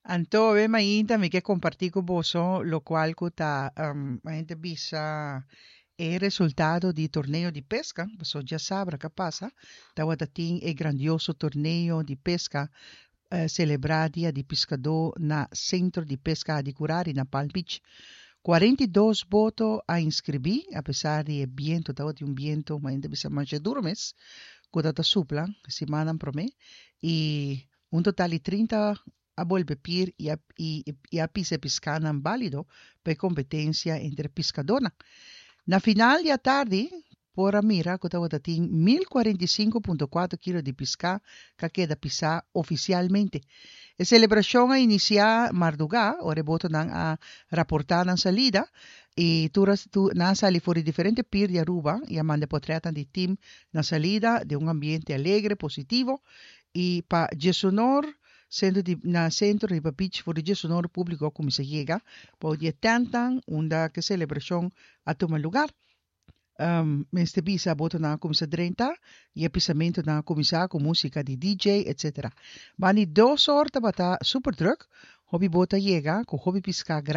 Anto awe mainta mi ke kompartí ku boso lokual ku ta hende bisa e resultado di torneo di peska, paso djasabra ka pasa tabata tin e grandioso torneo di peska selebrá dia di piskadó na Sentro di Peska Hadicurari na Palm Beach. 42 boto a inskribí apesar di e bientu, tabatin un bientu hende bisa masha duru mes ku ta ta supla simannan promé i un total di 30 a bolbe pir i a i a pisa e piskanan bálido pa e kompetensia entre piskadónan. Na final di atardi por a mira ku tabata tin 1045.4 kilo di piská ku a keda pisá ofisialmente. E selebrashon a inisiá mardugá ora e botonan a raportá nan salida i tur a nan a sali for di diferente pir di Aruba i a manda e potrètnan di tim na salida den un ambiente alegre, positivo i pa djesonor. Sentro di na sentro riba beach for di djesonor públiko a kuminsá yega bou di e tèntnan unda ku e selebrashon a tuma lugar. Mester bisa botonan a kuminsá drenta i e pisamentunan a kuminsá ku músika di DJ etc. Banda di dos or tabata super drùk, hopi boto a yega ku hopi piská grandi.